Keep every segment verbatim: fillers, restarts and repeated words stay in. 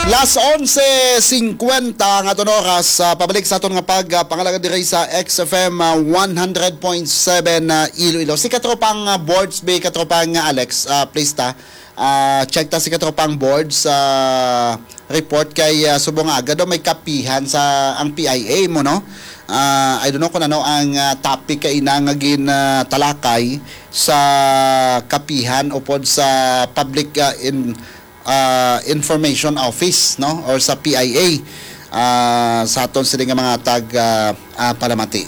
Las onse singkwenta nga aton oras, ah, pabalik sa aton nga pag, ah, pangalagad diri sa X F M, ah, one hundred point seven, ah, Iloilo. Si katropang, ah, Boards, be, katropang, ah, Alex, ah, please ta. Ah, check ta si katropang Boards, ah, report kay, ah, subong nga aga daw may kapihan sa ang P I A mo, no? Ah, I don't know kung ano ang, ah, topic kay ina nga gin, ah, talakay sa kapihan upod sa public, ah, in, ah, Information Office, no, or sa P I A, ah, sa aton sini nga mga tag, ah, ah, palamati.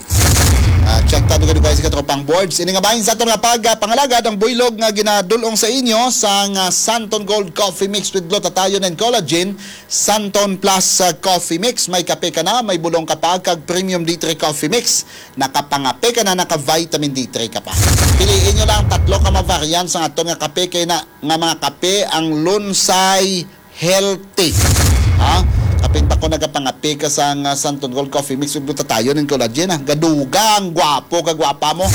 Ah, check ta dugay-dugay sa katropang Boards. Ini nga bahin sa aton nga pag, ah, pangalagad ang buylog nga ginadulong sa inyo sang, ah, Santon Gold Coffee Mix with Glutathione and Collagen, Santon Plus, ah, Coffee Mix. May kape ka na, may bulong ka pa, kag Premium D three Coffee Mix. Nakapangape ka na, naka-vitamin D three ka pa. Piliin nyo lang tatlo ka mga variant sa aton nga kape kay na nga mga kape ang Lunsay Healthy. Ha? Kapin pa ko nagapangape ka sa nga Santon Gold Coffee Mix with Glutathione and Collagen, ha? Gadugang gwapo ka gwapa mo.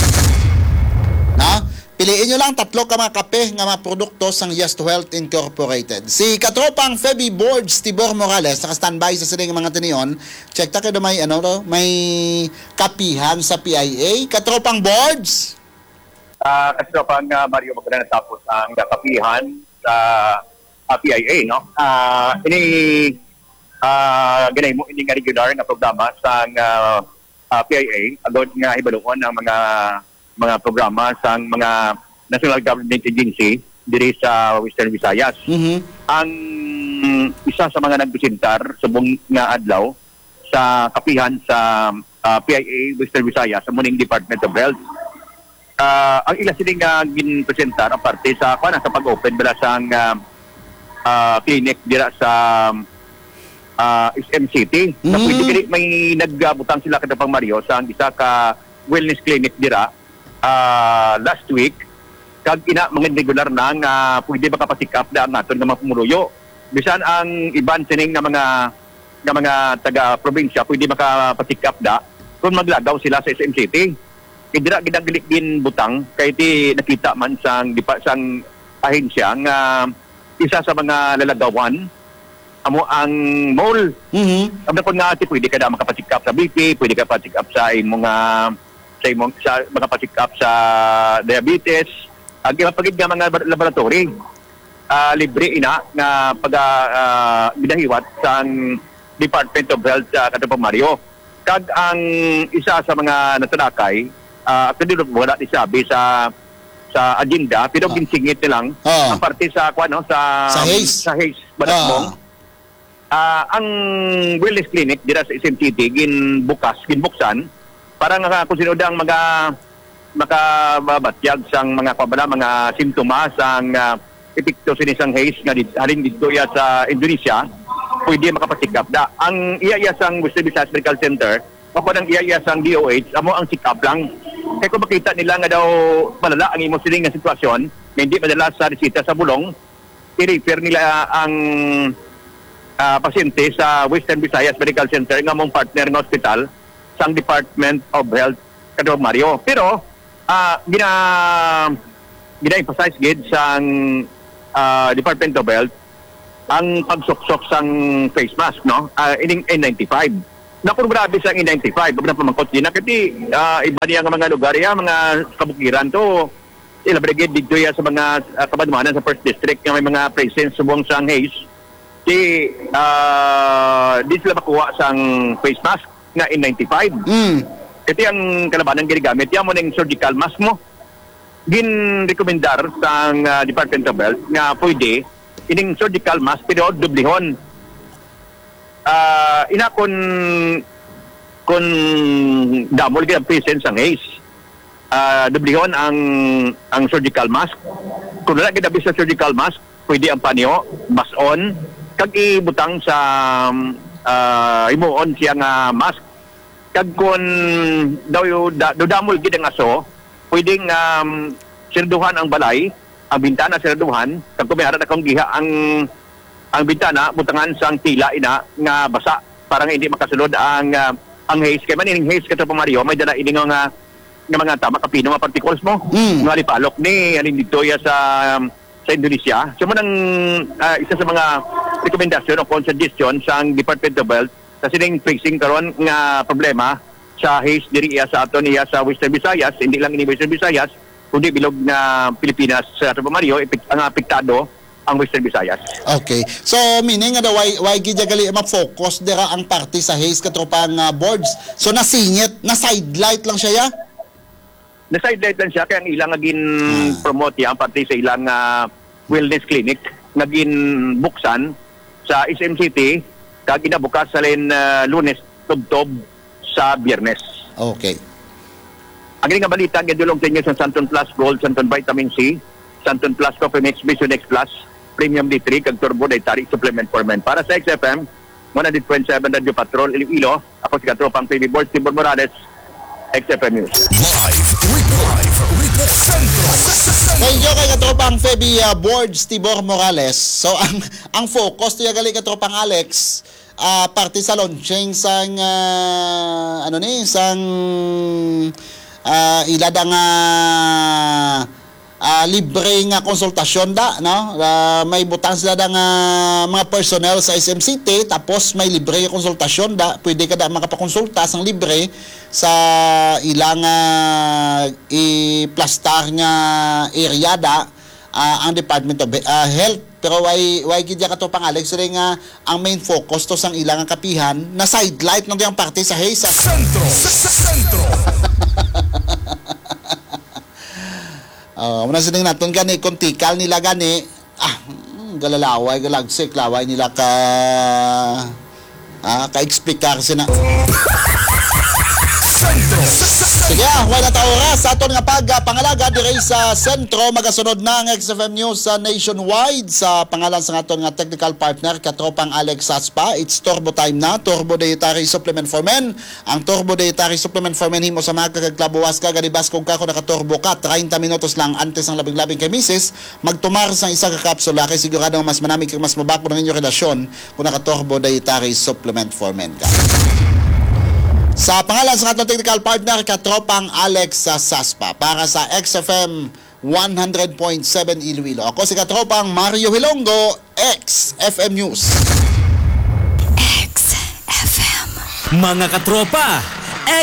Ha? Piliin nyo lang tatlo ka mga kape nga mga produkto sang Yes to Health Incorporated. Si katropang Feby Boards Tibor Morales naka-standby sa sining mga tinion. Check ta kay do may ano to, may kapihan sa P I A. Katropang Boards. Ah, kasi pa nga Mario, magkano natapos ang kapihan sa, ah, P I A, no? Ah, ini, ah, ginahimo ini nga regular nga programa sang, ah, ah, P I A, agod nga hibaluon ang mga, mga programa sang mga national government agency diri sa Western Visayas. Mhm. Ang isa sa mga nagpresentar subong nga adlaw sa kapihan sa, ah, P I A Western Visayas, amo ning Department of Health. Ah, ang ila sini nga ginpresentar ang parte sa, kuwan, sa pag-open bala sang, ah, ah, clinic dira sa, ah, S M City. Na pwede Mm. kini may nagbutang sila, katropang Mario, sa isa ka wellness clinic dira, ah, last week. Kag ina, mga regular na nga pwede makapasikap na ang aton nga mga pumuluyo. Bisan ang iban sining nga mga, nga mga taga-probinsya pwede makapasikap na kung maglagaw sila sa S M City. Kay dira gid ang gili-, ginbutang kay ti nakita man sang dipa-, sang ahensya nga isa sa mga lalagawan amo ang mall. Mhm. Ang dakon nga ati, pwede ka na makapasikap sa B P, pwede ka pasikap sa imo nga, sa imo, sa, makapasikap sa diabetes, ang iba pa gid nga mga lab-, laboratory. Ah, libre ina nga pag, ah, ginahiwat sang Department of Health sa, katropang Mario. Kag ang isa sa mga natalakay, ah, actually, wala ni sabi sa, sa agenda, pero Ah. ginsingit nilang Ah. ang parte sa, kuwan, no, sa, Sa Hayes. sa Hayes, Balatbong. Ah. Ah, ang wellness clinic dira sa S M City ginbukas, ginbuksan para nga kung sino ang maga-, makababatyag sang mga, kuwan ba na, mga simptomas, ang, ah, epekto sini sang Hayes nga did-, halin didto iya sa Indonesia, pwede makapasikap da. Ang iya-iya sang Western Visayas Medical Center, o kung ang iya-iya sang D O H, amo ang check-up lang. Kay kung makita nila nga daw malala ang imo siling nga sitwasyon, nga hindi madala sa resita sa bulong, i-refer nila ang, ah, pasyente sa Western Visayas Medical Center nga mong partner nga ospital sang Department of Health, Kadrog Mario. Pero, ah, gina-, gina-emphasize gid sang, ah, Department of Health ang pagsuksok sang face mask, no? Ah, ining N ninety-five. Na kung grabe sang N ninety-five, ang pamangkot din na, kasi, ah, iba niya nga mga lugar, ya, mga kabukiran to, ila brigade dito ya sa mga, ah, kabanwanan sa First District nga may mga presence subong sang Hayes. Di, ah, di sila makuha sang face mask nga N ninety-five. Mm. Kasi ang kalabanan ginagamit, yan mo ning surgical mask mo. Ginrekomendar sang, ah, Department of Health nga pwede ining surgical mask pero dublihon. Ah, ina kun, kun damol gid ang presence sang Hayes, ah, dublihon ang, ang surgical mask. Kung wala gid abi sa surgical mask, pwede ang panyo, bas-on, kag ibutang sa, ah, himuon siya nga mask. Kag kun daw yu-, da-, daw damol gid ang aso, pwedeng, um, sirduhan ang balay, ang bintana sirduhan, kag kung may ara na kung giha ang, ang bintana, butangan sang tila ina nga basa para nga hindi makasulod ang, ah, ang Hayes. Kay man ining Hayes, katropang Mario, may dala ini nga, nga mga tama kapino nga particles mo. Mm. Nga lipalok ni, alin dito ya sa, sa Indonesia. So, man ang, ah, isa sa mga rekomendasyon o kon suggestion sang Department of Health sa sining pressing karon nga problema sa haze diri iya sa aton iya sa Western Visayas, hindi lang ini Western Visayas, kundi bilog na Pilipinas, sa Tropa Mario, epek-, ang apektado ang Western Visayas. Okay. So, meaning nga daw, why, why gid gali ma-focus dira ang parte sa haze, katropang ah, boards? So, nasingit, na-sidelight lang siya, ya? Na-sidelight lang siya kay ang ilang nga gin-promote niya ang parte sa ilang ah, wellness clinic nga ginbuksan sa S M City kag ginabukas sa lin ah, Lunes tubtob sa Biyernes. Okay. Ang nga balita gidulong sa inyo sa Santon Plus Gold, Santon Vitamin C, Santon Plus Coffee Mix, Vision X Plus, Premium D three, kag Turbo Dietary Supplement for Men. Para sa X F M, one hundred point seven Radyo Patrol, Iloilo, ako si Katropang P B Board, Tibor Morales, X F M News. Live report, live report, Centro, Centro. Thank you kay katropang Feby ah, Boards Tibor Morales. So, ang ang focus to gali, katropang Alex, ah, parte sa launching sang ah, ano ni, sang ah, ila da nga ah, libre nga konsultasyon da, no? Ah, may butang sila da nga mga personnel sa S M City, tapos may libre nga konsultasyon da. Pwede ka da makapakonsulta sang libre sa ilang ah, iplastar nga area da, ah, ang Department of He- ah, Health. Pero why why gid ya, katropang Alex, rin nga ang main focus to sang ilang kapihan na sidelight ng diyang parte sa haze. Centro, Centro. Oh, muna sining naton gani, kung tikal nila gani, ah, mm, galalaway, galagsik, laway nila ka, ah, ka-explicar sina. Sige, ah, wala ta oras sa aton nga pagpangalaga diri sa sentro. Magasunod na ang X F M News sa nationwide. Sa pangalan sa aton nga technical partner, katropang Alex Saspa, it's Turbo Time na, Turbo Dietary Supplement for Men. Ang Turbo Dietary Supplement for Men, himo sa mga kagaglabuwas ka, gadibaskog ka kung nakaturbo ka, treinta minutos lang antes ang labing-labing kay misis, magtumar sang isa ka kapsula kay sigurado nga mas manami kag mas mabakod ang inyong relasyon kung nakaturbo dietary supplement for men ka. Sa pangalan sa aton technical partner, katropang Alex sa Saspa, para sa X F M one hundred point seven Iloilo. Ako si katropang Mario Hilonggo, X F M News. X F M. Mga katropa,